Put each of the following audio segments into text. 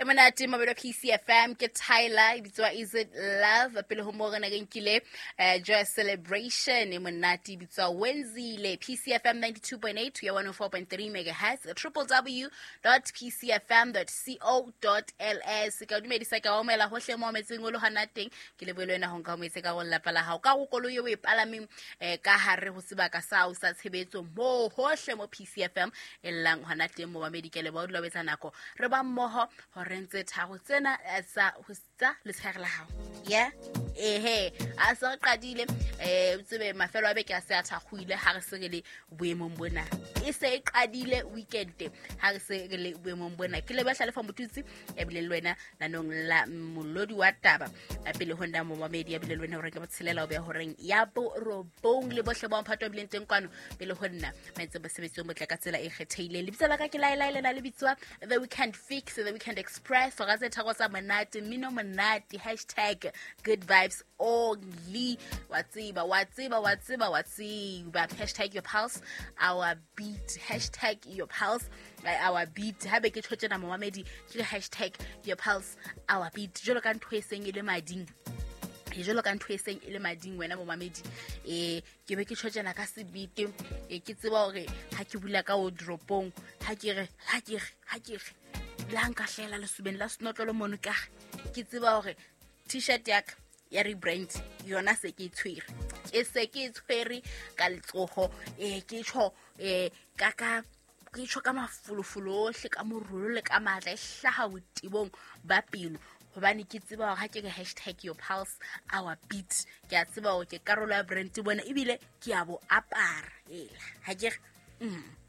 E monate mabelo PCFM ke Tyler e bitswa Is It Love pele ho moo re ne re nkile Joy Celebration e monate e bitswa Wenzile. PCFM 92.8 ya 104.3 megahertz, www.pcfm.co.ls. Ka o dumedisa, ka omela hohle mo metseng o le hona teng. Ke lebohele wena ho nka o metse ka go lelapa la hao ka go koloi eo o e palameng ka hare ho sebaka sa hao sa tshebetso mo hohle mo PCFM e llang hona teng. Mo mamedi, ke leboha o dula o etsa nako re ba mmoho horeng tse tharo tsena tsa ho tsa letshehare la hao ya ehe a se re qadile. O tsebe mafelo a beke a se a thakgoile ha re se re le boemong bona, e se e qadile weekend ha re se re le boemong bona. Ke leboha Hlalefa Motutsi ebile le wena nanong la molodi wa taba a pele ho nna momamedi, ebile le wena horeng ke botshelela o beha horeng ya borobong le bohle ba mphato bileng teng kwano pele ho nna ba entse mosebetsi o motle ka tsela e kgethehileng. Lebitso la ka ke Laelae, lena le bitswa The Weekend Fix, The Weekend Express, hora tse tharo tsa monate, mmino monate, hashtag good vibes only. Wa tseba, wa tseba, wa tseba, wa tseba, hashtag your pulse our beat, hashtag your pulse our beat. Haebe ke tjho tjena momamedi, ke hashtag your pulse our beat jwalo ka ntho e seng e le mading, jwalo ka ntho e seng e le mading wena momamedi. Ke be ke tjho tjena ka sebete, ke tseba hore ha ke bula ka wardrobe-ong, ha ke re, ha ke re, ha ke re la nka hlela lesubeng la senotlolo mono, ka ke tseba hore t-shirt ya ka ya rebrand yona se ke e tshwere, ke se ke e tshwere ka letsoho. Ke tjho ka ke tjho ka mafolofolo ohle, ka morolo le ka matla e hlaha botebong ba pelo, hobane ke tseba hore ha ke re hashtag your pulse our beat, ke a tseba hore ke karolo ya brand bona, ebile ke a bo apara ela ha ke re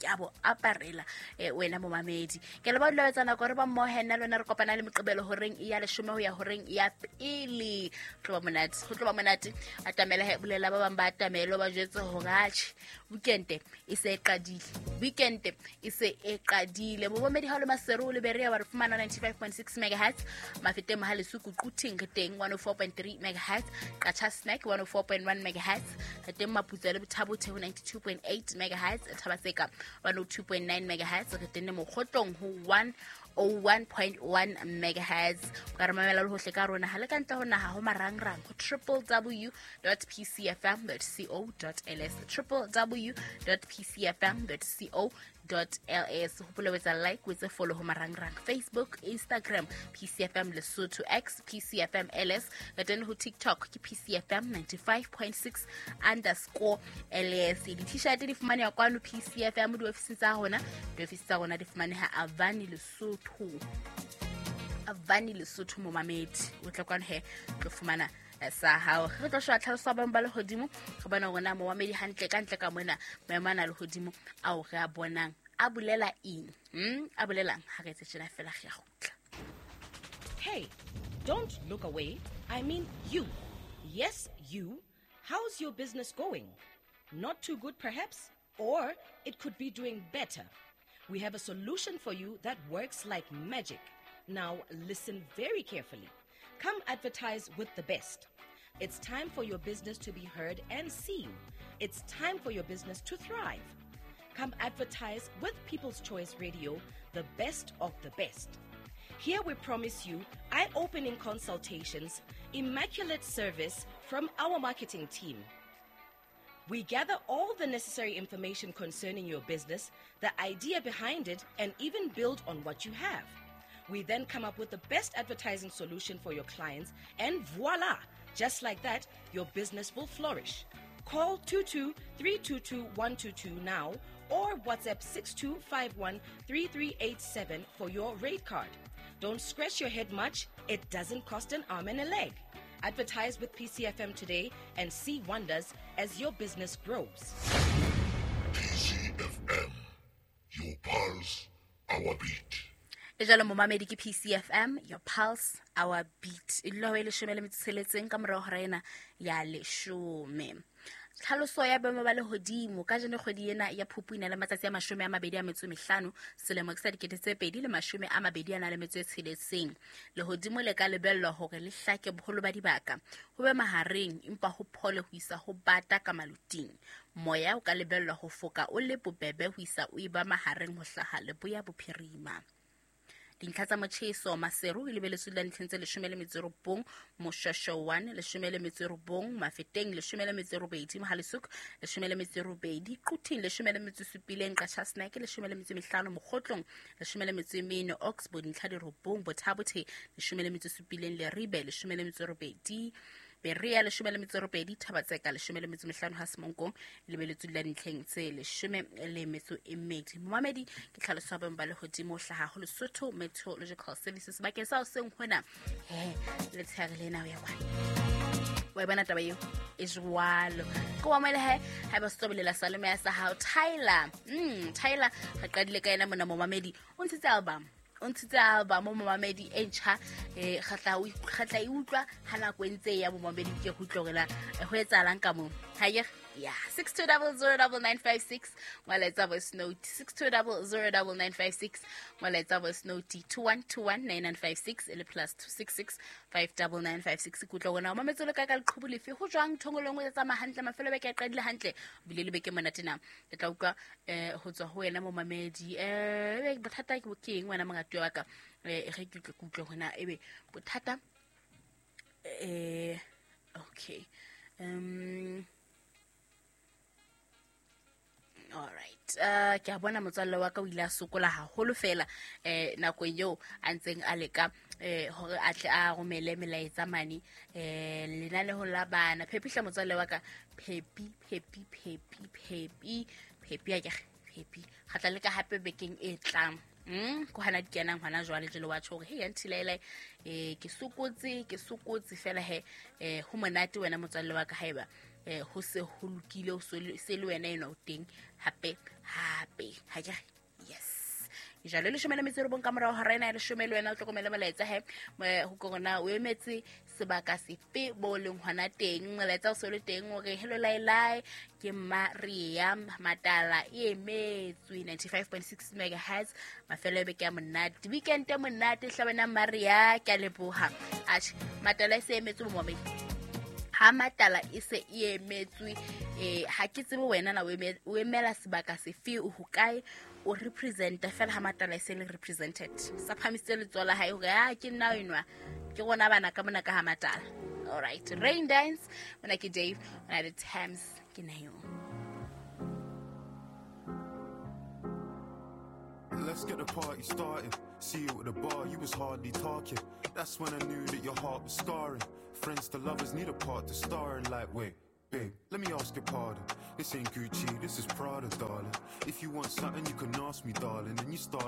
ke a bo aparela. Wena momamedi, ke le ba dula etsa nako re ba mmoho nna le wena, re kopana le Moqebelo horeng ya 10 ho ya horeng ya pele. Tlo ba monate, ho tlo ba monate. Atamela he, bolela ba bang ba atamele, ba jwetse hore atjhe, weekend e se e qadile, weekend e se e qadile. Momamedi, ha o le Maseru o le Berea, wa re fumana 95.6 megahertz. Mafeteng, Mohale'shoek, Quthing re teng 104.3 megahertz. Qacha Snack 104.1 megahertz. Re teng Maputsoe le Botha-Bothe ho 92.8 megahertz, Thaba-Tseka 102.9 megahertz, re teng le Mokhotlong ho 101.1 megahertz. O ka re mamela le hohle ka rona ha le ka ntle ho naha ho marangrang ho www.pcfm.co.ls, www.pcfm.co ls. Hopola o etsa like, o etse follow ho marangrang, Facebook, Instagram, PCFM Lesotho, X, PCFM LS. Re teng ho TikTok ke PCFM 95.6_LS. Di-t-shirt di fumaneha kwano PCFM diofising tsa rona. Diofisi tsa rona di fumaneha Avani Lesotho, Avani Lesotho. Momamedi, o tla kwano he, tlo fumana sa hao. Re tlo sheba tlhaloso ya boemo ba lehodimo, re bona hore na momamedi hantle ka ntle ka mona maemo ana a lehodimo ao re a bonang a bolela eng, A bolelang? Ha re etse tjena fela, re a kgutla. Hey, don't look away. I mean you. Yes, you. How's your business going? Not too good, perhaps? Or it could be doing better. We have a solution for you that works like magic. Now, listen very carefully. Come advertise with the best. It's time for your business to be heard and seen. It's time for your business to thrive. Come advertise with People's Choice Radio, the best of the best. Here we promise you eye opening consultations, immaculate service from our marketing team. We gather all the necessary information concerning your business, the idea behind it, and even build on what you have. We then come up with the best advertising solution for your clients, and voila! Just like that, your business will flourish. Call 22 322 122 now or WhatsApp 6251 3387 for your rate card. Don't scratch your head much, it doesn't cost an arm and a leg. Advertise with PCFM today and see wonders as your business grows. PCFM, your pulse, our beat. E jalo momamedi, ke PCFM, your pulse our beat. E dula ho e 17 ka morao hora ena ya 10. Tlhaloso ya boemo ba lehodimo ka jeno, kgwedi ena ya Phupu e na le matsatsi a 25, selemo ke sa 2026. Lehodimo le ka lebellwa hore le hlake boholo ba dibaka, ho be mahareng empa ho phole ho isa ho bata ka maloting. Moya o ka lebellwa ho foka o le bobebe ho isa o eba mahareng ho hlaha leboya bophirima. Dintlha tsa motjheso Maseru e lebeletswe la ntlheng tse 19, Moshweshwe 1 19, Mafeteng 18, Mohale's 18, Quthing 17, Qacha's Nek 15, Mokgotlong 14, Oxbow dintlha di 9, Botha-Bothe 17, Leribe 18, Berea 18, Thabatseka 15, ha Semonkong lebeletswe la ntlheng tse 12. Momamedi ke tlhaloso ya boemo ba lehodimo hlaha ho Lesotho Meteorological Services bakeng sa hoseng hona letshehare lena ho ya kwana. Wa e bona taba eo e jwalo. Ke wa moele he ha ba setobelela salome ya sa hao Tyler. Tyler re qadile ka yena mona momamedi o ntshitse album. O ntshitse album momamedi e ntjha kgatla e utlwa ha nako e ntse ya momamedi ke go utlwa hore ho etsahalang ka moo. Ha ye ya 62009956 ngwaletsa voice note 62009956 ngwaletsa voice note 21219956 e le plus 266 59956. Ke utlwa hore na o mametse le ka ka leqhubu lefe ho jwang thongolong o tsamaya hantle mafelo beke a qadile hantle bile le beke monate na ke tla utlwa ho tswa ho wena momamedi bothata ke eng wena mongatuwa wa ka re ke utlwe hore na ebe bothata okay all right ke a bona motswalle wa ka o ile a sokola haholo fela nakong eo a ntseng a leka hore a tle a romele melaetsa mane lenanehong la bana. Phephi hle motswalle wa ka, Phephi Phephi Phephi Phephi Phephi a ke Phephi kgatla le ka hape bekeng e tlang. Ko hana di kenang hona jwale jelo wa tjho hore hey antilaela ke sokotse fela he ho monate wena motswalle wa ka haeba ho se ho lokile ho se le wena ena o teng hape hape ha ke yes jalo le 19 ka morao hora ena ya 10 le wena o hlokomele molaetsa he ho korona o emetse sebaka sefe bo leng hona teng molaetsa o se le teng hore hello lailai ke Maria Matala e emetswe 95.6 megahertz mafelo a beke ya monate weekend e monate hlabana Maria ke a leboha atjhe Matala e se emetswe momamedi ha Matala e se e emetswe ha ke tsebe wena na o emela sebaka sefe o hokae o representa fela ha Matala e se le represented sa phamisitse letsoho la hae hore a ke nna enwa ke rona bana ka mona ka ha Matala. All right, Rain Dance mona ke Dave mona le Thames ke nayo. Let's get the party started. See you at the bar, you was hardly talking. That's when I knew that your heart was scarring. Friends to lovers need a part to star in. Like, wait, babe, let me ask your pardon. This ain't Gucci, this is Prada, darling. If you want something, you can ask me, darling. And you start